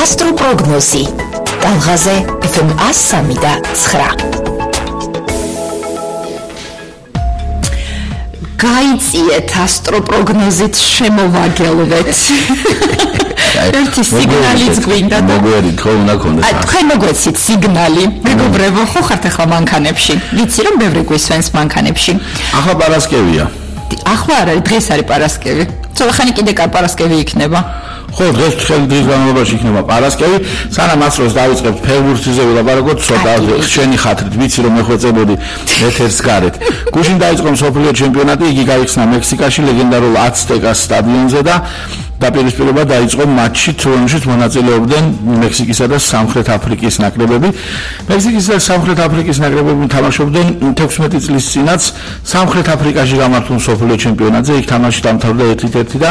ასტროპროგნოზი ტალღაზე FM 103.9 გაიწიეთ ასტროპროგნოზით შემოვაგელვეთ ერთი სიგნალიც გვინდა და მოგვერით ხო უნდა გქონდეს თქვენ მოგვეცით სიგნალი მეგობრებო ხო ხართ ახლა მანქანებში ვიცი რომ ბევრი გვისვენს მანქანებში ახლა პარასკევია ახლა არა დღეს არის პარასკევი ცოტა ხანი კიდე პარასკევი იქნება ხო დღეს დღის განმავლობაში იქნება პარასკევი სანამ ასროს დავიწყებთ ფეხბურთზე ვილაპარაკოთ ცოტა შენი ხათრით ვიცი რომ მეხვეწებოდი ეთერს გარეთ გუშინ დაიწყო მსოფლიო ჩემპიონატი იგი გაიხსნა მექსიკაში ლეგენდარულ აცტეკას სტადიონზე და დაპირისპირება დაიწყო მატჩი რომელშიც მონაწილეობდნენ მექსიკისა და სამხრეთ აფრიკის ნაკრებები მექსიკის და სამხრეთ აფრიკის ნაკრებები თამაშობდნენ 16 წლის წინაც სამხრეთ აფრიკაში გამართულ მსოფლიო ჩემპიონატზე იქ თამაში დამთავრდა 1-1 და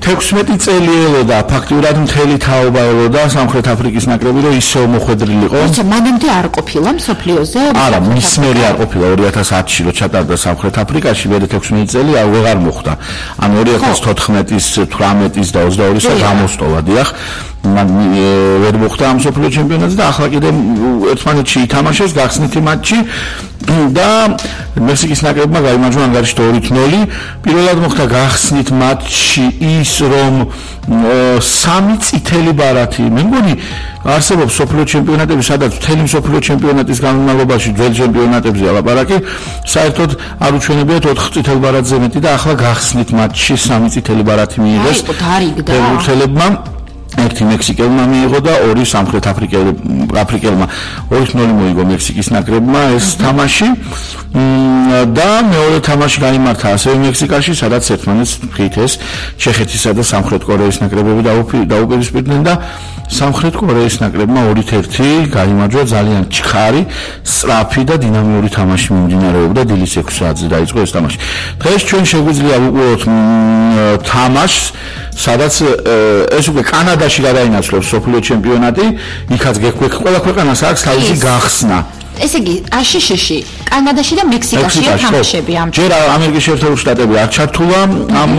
16 წელი ელოდა ფაქტურად მთელი თაობა ელოდა სამხრეთ აფრიკის ნაკრები რომ ისევ მოხვედრილიყო. अच्छा მანამდე არ ყოფილა მსოფლიოზე? არა, მის მერე არ ყოფილა 2010-ში რომ ჩატარდა სამხრეთ აფრიკაში მე 16 წელი აღარ მოხდა. ანუ 2014-ის, 18-ის და 22-ის გამოსტოვა დიახ. მან ვერ მოხდა ამ მსოფლიო ჩემპიონატზე და ახლა კიდე ერთმანეთში ითამაშეს გახსნითი მატჩი და მექსიკის ნაკრებმა გაიმარჯვა ანგარიშში 2-0. პირველად მოხდა გახსნით მატჩი ის რომ 3 წითელი ბარათი მე მგონი არსებობს მსოფლიო ჩემპიონატები სადაც მთელი მსოფლიო ჩემპიონატის განმავლობაში ძველ ჩემპიონატებზე ალაპარაკი საერთოდ არ უჩვენებიათ 4 წითელ ბარათზე მეტი და ახლა გახსნით მატჩი 3 წითელი ბარათი მიიღეს ფეხბურთელებმა ერთი მექსიკელმა მიიღო და ორი სამხრეთ აფრიკელმა 2-0 მოიგო მექსიკის ნაკრებმა ეს თამაში და მეორე თამაში გაიმართა ასევე მექსიკაში სადაც ერთმანეთს ხითეს ჩეხეთისა და სამხრეთ კორეის ნაკრებები დაუპირისპირდნენ და სამხრეთ კორეის ნაკრებმა 2-1 გაიმარჯვა ძალიან ჩქარი, სწრაფი და დინამიური თამაში მიმდინარეობდა დილის 6 საათზე დაიწყო ეს თამაში. დღეს ჩვენ შეგვიძლია ვუყუროთ თამაშს სადაც ეს უკვე კანადაში გადაინაცვლებს მსოფლიო ჩემპიონატი, იქაც ყველა ქვეყანას აქვს თავისი გახსნა. ესე იგი, აშშ-ში, კანადაში და მექსიკაშია თამაშები ამ. ჯერ ამერიკის შეერთებული შტატები არ ჩართულა ამ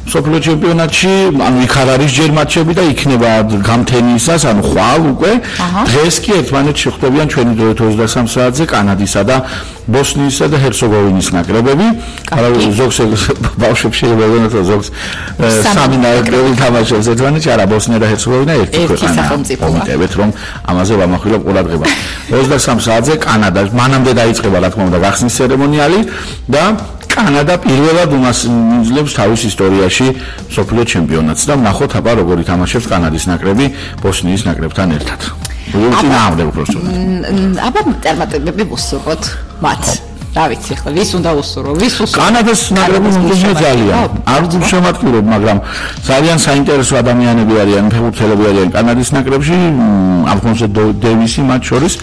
მსოფლიო ჩემპიონატში, ანუ იქ არ არის ჯერ მატჩები და იქნება გამთენიისას, ანუ ხვალ უკვე. დღეს კი ერთმანეთს შეხვდებიან ჩვენი დროით 23 საათზე კანადისა და ბოსნიისა და ჰერცეგოვინის ნაკრებები. ზოგს ბავშვებს შეიძლება იგონოთ, ზოგს სამი ნაკრები თამაშობს ერთმანეთში, არა ბოსნია და ჰერცეგოვინა ერთი ქვეყანა. მომიტევეთ რომ ამაზე ვამახვილებ ყურადღება. 23 საათზე კანადა მანამდე დაიწყება რა თქმა უნდა გახსნის ცერემონიალი და კანადა პირველად უმასპინძლებს თავის ისტორიაში მსოფლიო ჩემპიონატს და ნახოთ აბა როგორ ითამაშებს კანადის ნაკრები ბოსნიის ნაკრებთან ერთად. აბა წარმატებები ვუსურვოთ მათ. რა ვიცი ახლა ვის უნდა უსურვო ვის უსურვო კანადას ნაკრები მომდევნო ძალიან არ შემატკივრებ მაგრამ ძალიან საინტერესო ადამიანები არიან ფეხბურთელები არიან კანადის ნაკრებში ალფონსო დევისი მათ შორის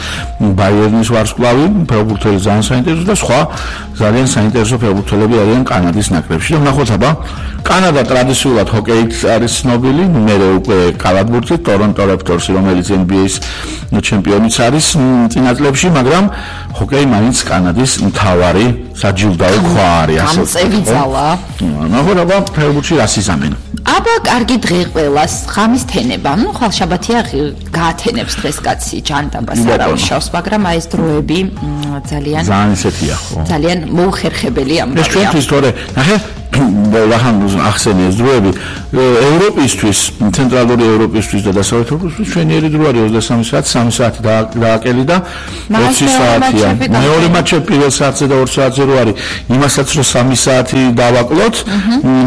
ბაიერნის ვარსკვლავი ფეხბურთელი ძალიან საინტერესო და სხვა ძალიან საინტერესო ფეხბურთელები არიან კანადის ნაკრებში და ნახოთ აბა კანადა ტრადიციულად ჰოკეით არის ცნობილი მერე უკვე კალათბურთით ტორონტო რეპტორსი რომელიც NBA-ის ჩემპიონიც არის წინა წლებში მაგრამ ჰოკეი მაინც კანადის მთავარი საჯილდაო ქვა არის ასე. გამწევი ძალა. ნახოთ აბა ფეხბურთში რას იზამენ. აბა კარგი დღე ყველას ღამის თენება. ნუ ხვალ შაბათია გაათენებს დღეს კაცი ჯანდაბას არა უშავს, მაგრამ აი ეს დროები ძალიან ისეთია ხო. ძალიან მოუხერხებელი ამბავია. ეს ჩვენთვის თორე ნახე ლახან ახსენე ეს დროები ევროპისთვის, ცენტრალური ევროპისთვის და დასავლეთ ევროპისთვის ჩვენიერი დრო არის 23 საათი, 3 საათი დააკელი და 20 საათია. მეორე მატჩი პირველ საათზე და 2 საათზე რო არის, იმასაც რომ 3 საათი დავაკლოთ,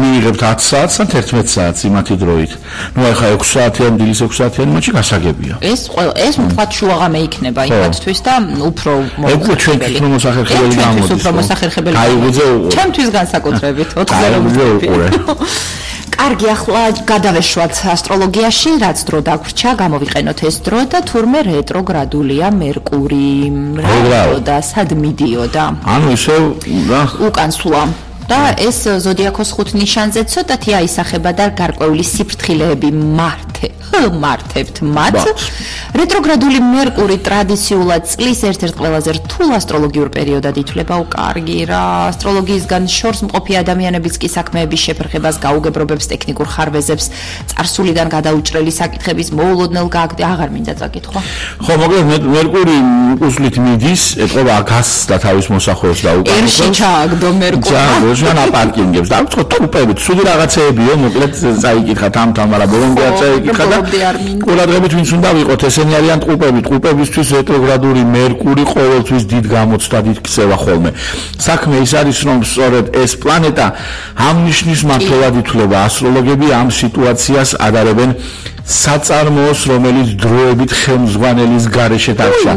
მიიღებთ 10 საათს ან 11 საათს იმათი დროით. ნუ ახლა 6 საათიან, დილის 6 საათიან მატჩი გასაგებია. ეს თქვათ შუაღამე იქნება იმათთვის და უფრო მოხერხებელი. ჩვენთვის უფრო მოსახერხებელი გამოდის. უფრო მოსახერხებელი. ჩემთვის განსაკუთრებით კარგი ახლა გადავეშვათ ასტროლოგიაში რაც დრო დაგვრჩა გამოვიყენოთ ეს დრო და თურმე რეტროგრადულია მერკური და სად მიდიოდა ანუ ისე უკან სულა და ეს ზოდიაქოს 5 ნიშანზე ცოტათი აისახება და გარკვეული სიფრთხილეები მართ მართებთ მათ. რეტროგრადული მერკური ტრადიციულად წლის ერთ-ერთ ყველაზე რთულ ასტროლოგიურ პერიოდად ითვლება. კარგი რა, ასტროლოგიისგან შორს მყოფი ადამიანებიც კი საქმეების შეფერხებას გაუგებრობებს, ტექნიკურ ხარვეზებს, წარსულიდან გადაუჭრელი საკითხების მოულოდნელ აღარ მინდა წაკითხვა. ხო, მოკლედ მერკური უკუსლით მიდის, ეთყობა გასს და თავის მოსახვეებს დაუკარგავს. ერში ჩააგდო მერკური. ჩააგდო აპარკინგებს. დაუწყო თუპებით, სუდი რაღაცეებიო, მოკლედ წაიკითხა თამთან, მაგრამ ბოლომდე არ წაიკითხა და ყურადღებით ვინც უნდა ვიყოთ, ესენი არიან ტყუპები. ტყუპებისთვის რეტროგრადული მერკური ყოველთვის დიდ გამოცდად იქცევა ხოლმე. საქმე ის არის, რომ სწორედ ეს პლანეტა ამ ნიშნის მმართველად ითვლება. ასტროლოგები ამ სიტუაციას ადარებენ საწარმოოს, რომელიც დროებით ხელმძღვანელის გარეშე დარჩა.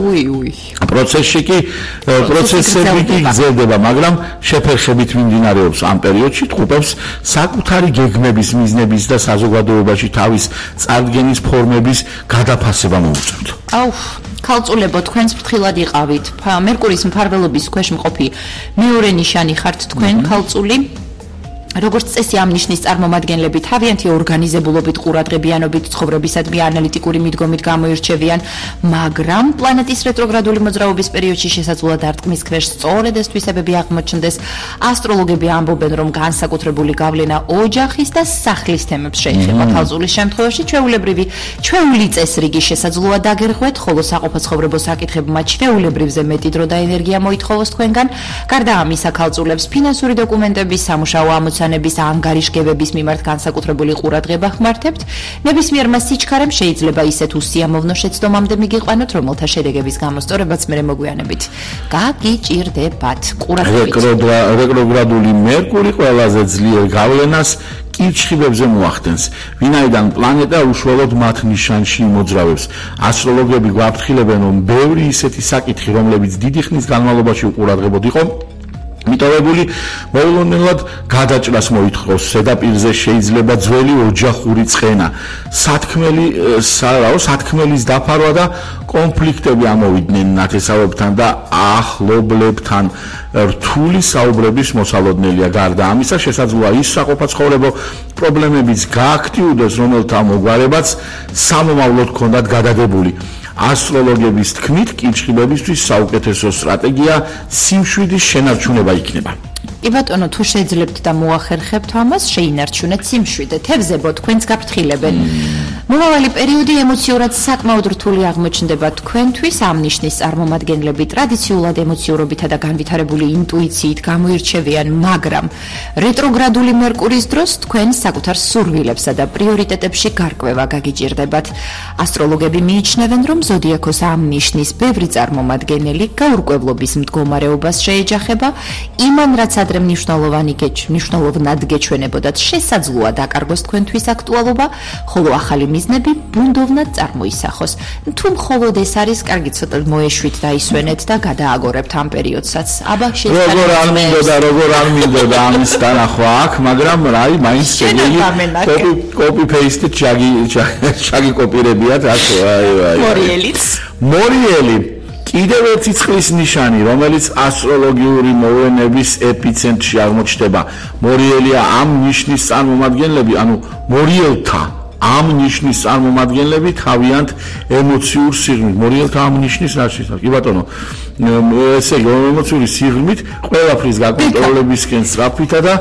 პროცესები კი გრძელდება, მაგრამ შეფერხებით მიმდინარეობს ამ პერიოდში ტყუპებს საკუთარი გეგმების, მიზნების და საზოგადოებაში თავის წარდგენის ფორმების გადაფასება მოუწევთ. ქალწულებო, თქვენს ფრთხილად იყავით. მერკურის მფარველობის ქვეშ მყოფი მეორე ნიშანი ხართ თქვენ, ქალწული. როგორც წესი ამ ნიშნის წარმომადგენლები თავიანთი ორგანიზებულობით, ყურადღებიანობით, ცხოვრებისადმი ანალიტიკური მიდგომით გამოირჩევიან, მაგრამ პლანეტის რეტროგრადული მოძრაობის პერიოდში შესაძლოა დარტყმის ქვეშ სწორედ ეს თვისებები აღმოჩნდეს. ასტროლოგები ამბობენ, რომ განსაკუთრებული გავლენა ოჯახის და სახლის თემებს შეეხება. ქალწულის შემთხვევაში ჩვეული წესრიგი შესაძლოა დაგერღვეთ, ხოლო საყოფაცხოვრებო საკითხებმა ჩვეულებრივზე მეტი დრო და ენერგია მოითხოვოს თქვენგან. გარდა ამისა, ქალწულებს ფინანსური დოკუმენტების, სამუშაო ამოცანების, ანგარიშგებების მიმართ განსაკუთრებული ყურადღება ხმართებთ. ნებისმიერმა სიჩქარემ შეიძლება ისეთ უსიამოვნო შეცდომამდე მიგიყვანოთ, რომელთა შედეგების გამოსწორებაც მერე მოგვიანებით გაგიჭირდებათ. რეტროგრადული მერკური ყველაზე ძლიერ გავლენას კირჩხიბებზე მოახდენს, ვინაიდან პლანეტა უშუალოდ მათ ნიშანში მოძრავებს. ასტროლოგები გვაფრთხილებენ, რომ ბევრი ისეთი საკითხი, რომლებიც დიდი ხნის განმავლობაში უყურადღებოდ იყო მიტოვებული, მოულოდნელად გადაჭრას მოითხოვს. ზედაპირზე შეიძლება ძველი ოჯახური ცხენა, სათქმელის დაფარვა და კონფლიქტები ამოვიდნენ ნათესავებთან და ახლობლებთან. რთული საუბრების მოსალოდნელია. გარდა ამისა, შესაძლოა ის საყოფაცხოვრებო პრობლემებიც გააქტიურდეს, რომელთა მოგვარებაც სამომავლოდ ჰქონდათ გადაგებული. ასტროლოგების თქმით, კირჩხიბებისთვის საუკეთესო სტრატეგია სიმშვიდის შენარჩუნება იქნება. კი ბატონო, თუ შეძლებთ და მოახერხებთ ამას, შეინარჩუნეთ სიმშვიდე. თევზებო, თქვენს გაფრთხილებენ. მომავალი პერიოდი ემოციურად საკმაოდ რთული აღმოჩნდება თქვენთვის. ამ ნიშნის წარმომადგენლები ტრადიციულად ემოციურობითა და განვითარებული ინტუიციით გამოირჩევიან, მაგრამ რეტროგრადული მერკურის დროს თქვენ საკუთარ სურვილებსა და პრიორიტეტებში გარკვევა გაგიჭირდებათ. ასტროლოგები მიიჩნევენ, რომ ზოდიაქოს ამ ნიშნის ბევრი წარმომადგენელი გაურკვევლობის მდგომარეობას შეეჯახება, იმან რაც ადრე მნიშვნელოვნად გეჩვენებოდათ, შესაძლოა დაკარგოს თქვენთვის აქტუალობა, ხოლო ახალი მიზნები ბუნდოვნად წარმოისახოს. თუ მხოლოდ ეს არის, კარგი ცოტა მოეშვით და ისვენეთ და გადააგორებთ ამ პერიოდსაც. აბა შეიძლება როგორ არ მინდოდა ამის დანახვა აქ, მაგრამ რაი მაინც კოპი პეისტი ჩაგიკოპირებიათ ასე მორიელი კიდევ ერთი წყლის ნიშანი, რომელიც ასტროლოგიური მოვლენების ეპიცენტრში აღმოჩნდება. მორიელია ამ ნიშნის წარმომადგენლები, ანუ მორიელთა ამ ნიშნის წარმომადგენლები თავიანთ ემოციურ სიღრმით. მორიელთა ამ ნიშნის რა შეიძლება? კი ბატონო, ესე იგი, ემოციური სიღრმით ყველაფრის გაკონტროლებისკენ სწრაფითა და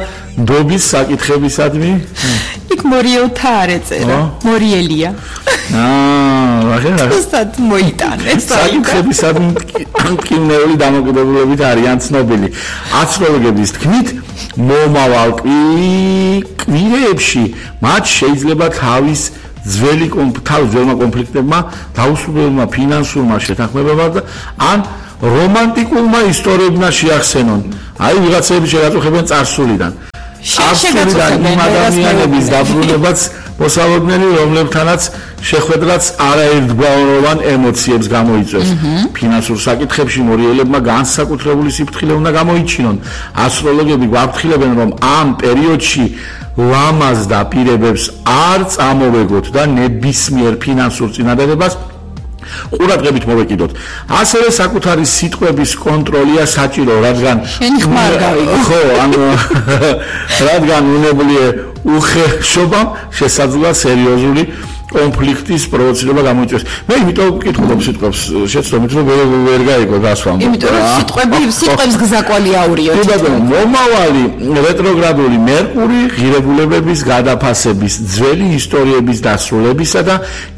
დობის საკითხებისადმი. იქ მორიელთა არ ეწერა, მორიელია. რუსად მოიტანეს. საკითხებისადმი მტკივნეული დამოკიდებულებით არიან ცნობილი. ასტროლოგების თქმით, მომავალ კვირეებში მათ შეიძლება თავის ძველმა კონფლიქტებმა, დაუსრულებელმა ფინანსურმა შეთანხმებებმა ან რომანტიკულმა ისტორიებმა შეახსენონ. აი, ვიღაცები შეაწუხებენ წარსულიდან. წარსულიდან იმ ადამიანების დაბრუნებაც მოსალოდნელი, რომლებთანაც შეხვედრაც არაერთგვაროვან ემოციებს გამოიწვევს. ფინანსურ საკითხებში მორიელებმა განსაკუთრებული სიფრთხილე უნდა გამოიჩინონ. ასტროლოგები გვაფრთხილებენ, რომ ამ პერიოდში ლამაზ დაპირებებს არ წამოვეგოთ და ნებისმიერ ფინანსურ წინადადებას ყურადღებით მოვეკიდოთ. ასევე საკუთარი სიტყვების კონტროლია საჭირო, რადგან უნებლიე უხეშობამ შესაძლოა სერიოზული კონფლიქტის პროვოცირება გამოიწვევს. მე იმიტომ ვკითხულობ სიტყვებს, შეცდომით რომ ვერ გაიგო გასვამ. იმიტომ რომ სიტყვებს გზაკვალი აურიოთ. კი ბატონო, მომავალი რეტროგრადული მერკური ღირებულებების გადაფასების, ძველი ისტორიების დასრულებისა და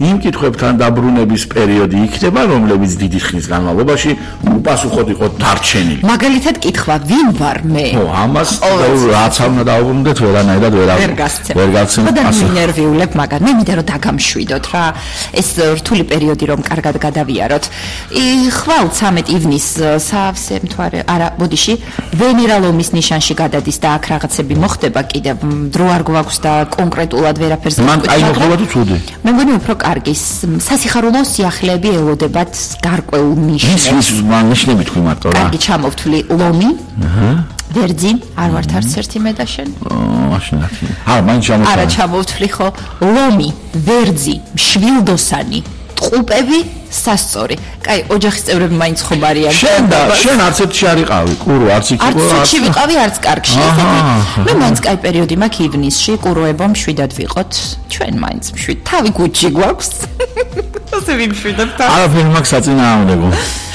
იმ კითხვებთან დაბრუნების პერიოდი იქნება, რომლებიც დიდი ხნის განმავლობაში უპასუხოდ იყო დარჩენილი. მაგალითად კითხვა, ვინ ვარ მე? ო, ამას რაც არ უნდა დაუბრუნდეთ, ვერანაირად ვერ გასცემ. და ნერვიულებ მაგარ. მე მინდა რომ დაგამშვიდოთ რა. ეს რთული პერიოდი რომ კარგად გადავიაროთ. ხვალ 13 ივნისს სავსე მთვარე, არა, ბოდიში, ვენერა ლომის ნიშანში გადადის და აქ რაღაცები მოხდება კიდევ. დრო არ გვაქვს და კონკრეტულად ვერაფერს მან აი მოხდება თუ ცუდი. მე მგონი უფრო კარგი. სასიხარულო სიახლეები ელოდებათ გარკვეულ ნიშნებს. მან ნიშნები თქვი მარტო რა. კარგი, ჩამოვთვლი ლომი. ვერძი, არ ვართ არც ერთი მე და შენ. მაშინ აკი. მაინც ჩამოვთვლი. არა, ჩამოვთვლი ხო. ლომი, ვერძი, შვილდოსანი, ტყუპები, სასწორი. კაი, ოჯახის წევრები მაინც ხომ არიან. შენ არც ერთში არ იყავი, კურო არც იქ იყო. არც ერთში ვიყავი, არც კარგში. მე მაინც კაი პერიოდი მაქვს ივნისში, კუროებო მშვიდად ვიყოთ. ჩვენ მაინც მშვიდ. თავი გუჩი გვაქვს. ასე ვიმშვიდებ თავი. არაფერი მაქვს საწინააღმდეგო.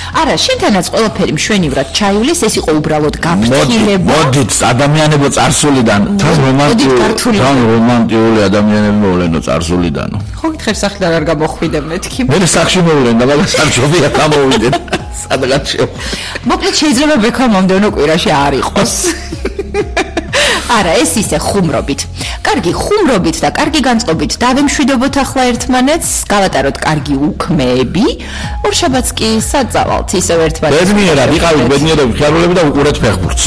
არა, შენთანაც ყველაფერი მშვენივრად ჩაივლის, ეს იყო უბრალოდ გაფრთხილება. მოდით, ადამიანებო წარსულიდან, თან რომანტიული ადამიანები მოვლენო წარსულიდანო. ხო გითხარ სახლიდან არ გამოხვიდე მეთქი. მე სახში მოვლენ და მაგას არ ჯობია გამოვიდეთ. სადღაც შევა. მოკლედ შეიძლება ბექა მომდევნო კვირაში არ იყოს. არა, ეს ისე ხუმრობით. კარგი ხუმრობით და კარგი განწყობით დავემშვიდობოთ ახლა ერთმანეთს, გავატაროთ კარგი უქმეები. ორშაბათს კი საწავალთ ისევ ერთმანეთს. ბედნიერად, იყავით ბედნიერები, ხიარულები და უყურეთ ფეხბურთს.